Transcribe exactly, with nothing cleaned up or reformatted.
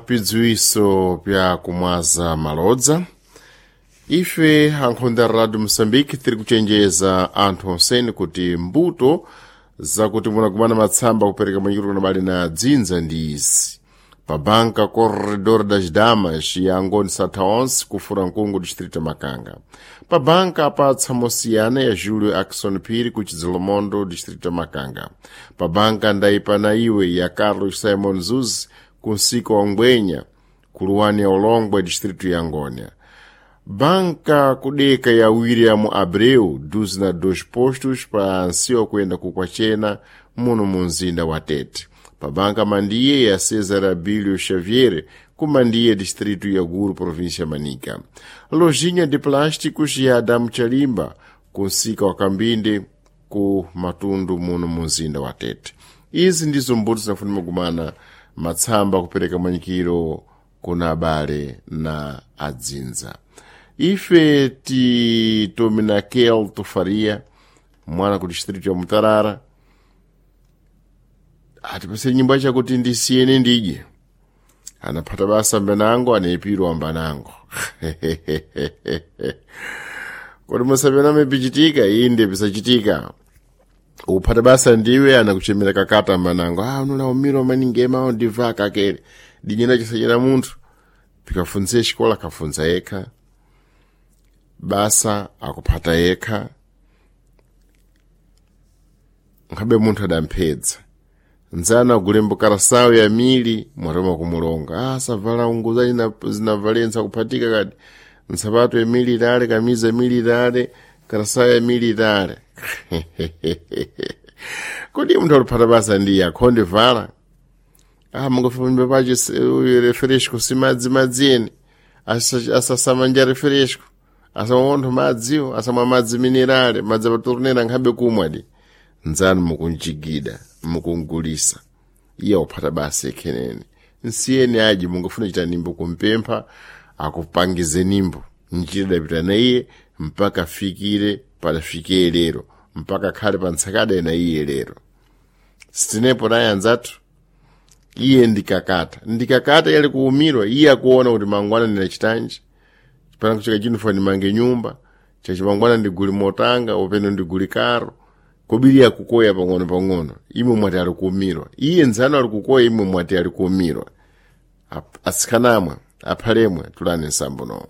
Pidziwiso pya kumwaza malodza ife ankhonda radio moçambique tiri kuchenjeza anthu onseni kuti mbuto zakuti munakumana matsamba kupereka manyikiro kuna bali na dzinza ndi izi pa banka corredor das damas ya angoni satha onse kufura mkungu distrito makanga pa banka pa tsamosiyana ya julio akson phiri ku chidzilomondo distrito makanga pa banka ndayipana iwe ya carlos simon zuz ku nsika wa ngwenya kuluwani ya ulongwe distrito ya ngônia banka kudeka ya william abreu duzi na dois postos pa nsiwa kuyenda ku kwachena muno mu mzinda wa tete pa banka mandiye ya cesar abilio xavier ku mandiye distrito ya guru província manica lojinha de plásticos ya adamu chalimba ku nsika wa kambinde ku matundu muno mu mzinda wa tete izi ndizo mbuto zinafunika kumana matsamba kupereka manyikiro kuna abale na adzinza ife titominakel tufaria mwana ku distrito ya mutarara atipase nyimbo chakuti ndisiyene ndidye anaphata basa mbanango anayipirwa mbanango kodi musapename pichitika inde pisachitika uphata basa ndiwe anakuchemera kakata mbanango ah unolaumira maningema ndibva kakele dinyena chisachera munthu pikafunze xikola akafunza yekha basa akuphata yekha nkhabe munthu adamphedza nzana agulembo karasawu ya mili mwatoma kumulonga ah savala unguza zinavalensa kuphatika kati nsapato ya mili itale kamiza mili itale karasawu ya mili itale kodi munthu akuphata basa ndiye akhonde vala ah mungafamba pacho refresco simadzi madzi ene asasamanja refresco asamwa madziwo asamwa madzi minerale madzi apatornera nkhabe kumwa di nzanu mukunjigida mukungulisa iye uphata basa ekhenene nsiyeni aji mungafuna chita nimbo kumpempha akupangize nimbo njira idapita na iye mpaka afikire padafikiye lero mpaka akhale pa ntsakada na iye lero sitinepo naye anzathu iye ndikakata ndikakata yali kuumirwa iye akuona kuti mangwana ndinachitanji chipana kuchika chinifa ndimange nyumba chachimangwana ndiguli motanga upeno ndiguli karo kobiri akukoya pang'ono pang'ono imwe mwati ali kuumirwa iye nzano ali kukoya imwe mwati ali kuumirwa atsikanamwe aphalemwe tulani nsambo nowo.